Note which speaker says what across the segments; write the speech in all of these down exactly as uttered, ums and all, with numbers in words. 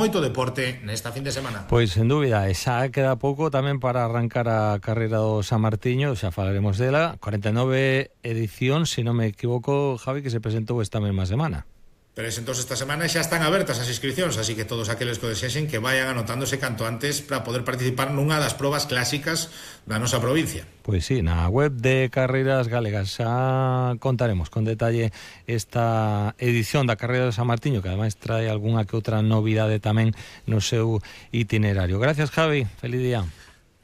Speaker 1: Moito deporte nesta fin de semana.
Speaker 2: Pois, sen dúbida, e xa queda pouco tamén para arrancar a carreira do San Martiño, xa falaremos dela, cuarenta e nove edición, se non me equivoco, Javi, que se presentou esta mesma semana.
Speaker 1: Pero es, entonces esta semana xa están abertas as inscripcións, así que todos aqueles que desexen que vayan anotándose canto antes para poder participar nunha das probas clásicas da nosa provincia.
Speaker 2: Pois sí, na web de Carreiras Galegas xa contaremos con detalle esta edición da Carreira de San Martiño, que ademais trae algunha que outra novidade tamén no seu itinerario. Gracias, Javi, feliz día.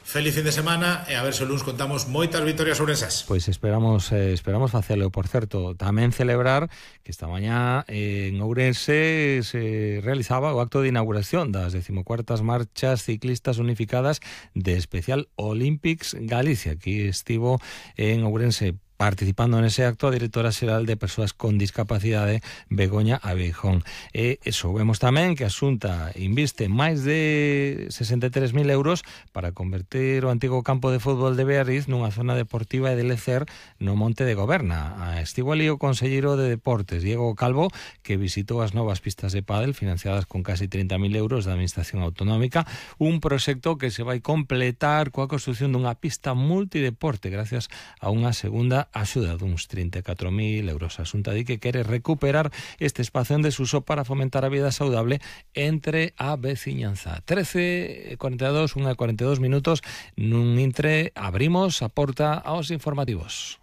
Speaker 1: Feliz fin de semana e a ver se o luns contamos moitas vitorias ourensás.
Speaker 2: Pois esperamos eh, esperamos facelo. Por certo, tamén celebrar que esta mañá eh, en Ourense se realizaba o acto de inauguración das decimocuartas marchas ciclistas unificadas de Special Olympics Galicia. Aquí estivo en Ourense participando nese acto a directora xeral de Persoas con Discapacidade, Begoña Abeijón. E soubemos tamén que a Xunta inviste máis de sesenta e tres mil euros para converter o antigo campo de fútbol de Beariz nunha zona deportiva e de lecer no Monte de Goberna. Estivo ali o conselleiro de Deportes, Diego Calvo, que visitou as novas pistas de pádel financiadas con casi trinta mil euros da Administración Autonómica, un proxecto que se vai completar coa construción dunha pista multideporte gracias a unha segunda axuda duns trinta e catro mil euros. A Xunta di que quere recuperar este espazo en desuso para fomentar a vida saudable entre a veciñanza. trece e cuarenta e dos, unha e cuarenta e dos minutos, nun intre abrimos a porta aos informativos.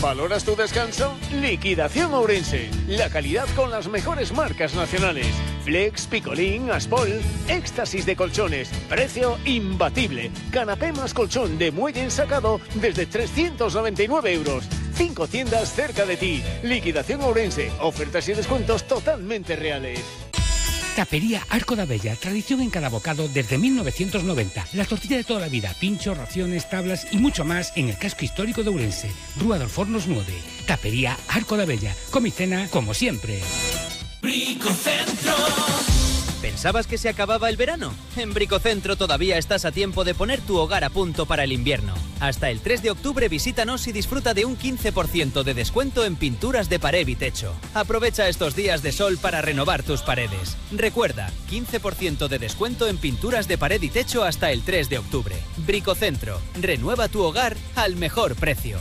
Speaker 3: ¿Valoras tu descanso? Liquidación Ourense. La calidad con las mejores marcas nacionales. Flex, Picolín, Aspol, éxtasis de colchones. Precio imbatible. Canapé más colchón de muelle ensacado desde trescientos noventa y nueve euros. Cinco tiendas cerca de ti. Liquidación Ourense. Ofertas y descuentos totalmente reales.
Speaker 4: Tapería Arco da Bella, tradición en cada bocado desde mil novecientos noventa. La tortilla de toda la vida, pinchos, raciones, tablas y mucho más en el casco histórico de Ourense. Rúa dos Fornos nueve. Tapería Arco da Bella. Comicena como siempre.
Speaker 5: Bricocentro. ¿Pensabas que se acababa el verano? En Bricocentro todavía estás a tiempo de poner tu hogar a punto para el invierno. Hasta el tres de octubre visítanos y disfruta de un quince por ciento de descuento en pinturas de pared y techo. Aprovecha estos días de sol para renovar tus paredes. Recuerda, quince por ciento de descuento en pinturas de pared y techo hasta el tres de octubre. Bricocentro, renueva tu hogar al mejor precio.